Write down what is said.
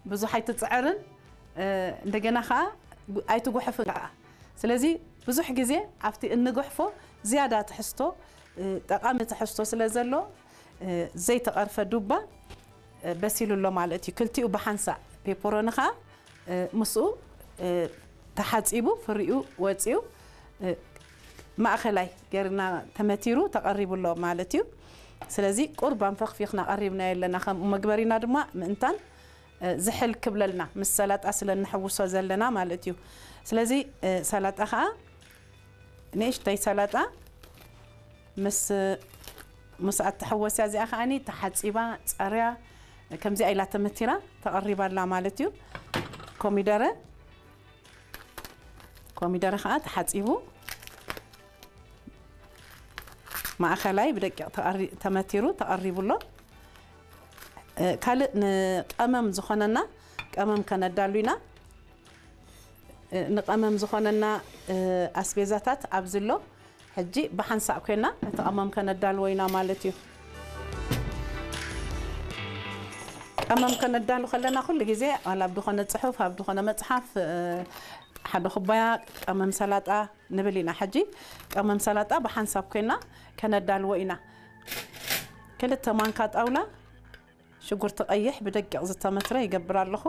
ብዙሕ ኣይትጽዕርን፣ እ፣ እንደገና ኸዓ ኣይትጉሕፍን ኸዓ። ስለዚ ብዙሕ ግዜ ኣብቲ እንጉሕፎ ዝያዳ ትሕዝቶ፣ እ፣ ጠቓሚ ትሕዝቶ ስለ ዘሎ፣ እ፣ ዘይተቐርፈ ዱባ፣ እ፣ በሲሉ ኣሎ ማለት እዩ። ክልቲኡ ብሓንሳእ ፔፐሮኒ ኸዓ፣ እ፣ ምስኡ፣ እ፣ ተሓጺቡ ፍሪኡ ወጺኡ፣ እ፣ ማእኸላይ ገርና ተመቲሩ ተቐሪቡ ኣሎ ማለት እዩ። ስለዚ ቁርባን ፈኽፊኽና ቀሪብናዮ ኣለና። ከም መግበሪና ድማ ምእንታን፣ እ፣ ዝሕል ክብለልና ምስ ሰላጣ ስለ እንሕውሶ ዘለና ማለት እዩ። ስለዚ፣ እ፣ ሰላጣ ኸዓ ንእሽተይ ሰላጣ ምስ፣ ምስ ኣተሐወስያ እዚኣ ኸዓኒ ተሓጺባ፣ ጸርያ፣ ከምዚኣ ኢላ ተመቲራ ተቐሪባ ኣላ ማለት እዩ። ኮሚደረ፣ ኮሚደረ ኸዓ ተሓጺቡ ማእኸላይ ብደቂቕ ተቐሪ-፣ ተመቲሩ ተቐሪቡ ኣሎ። እ፣ ካልእ ንቀመም ዝኾነና ቀመም ከነዳሉ ኢና። እ፣ ንቀመም ዝኾነና፣ እ፣ ኣስቤዛታት ኣብዚ ኣሎ። ሕጂ ብሓንሳእ ኮይና ነቲ ቀመም ከነዳልዎ ኢና ማለት እዩ። ቀመም ከነዳሉ ከለና ኩሉ ግዜ ዋላ ኣብ ዝኾነ ጽሑፍ፣ ኣብ ዝኾነ መጽሓፍ፣ እ፣ ሓደ ኩባያ ቀመም ሰላጣ ንብል ኢና። ሕጂ ቀመም ሰላጣ ብሓንሳብ ኮይና ከነዳልዎ ኢና። ክልተ ማንካ ጣውላ ሽጉርቲ ቀይሕ ብደቂቕ ዝተመትረ ይገብር ኣለኹ።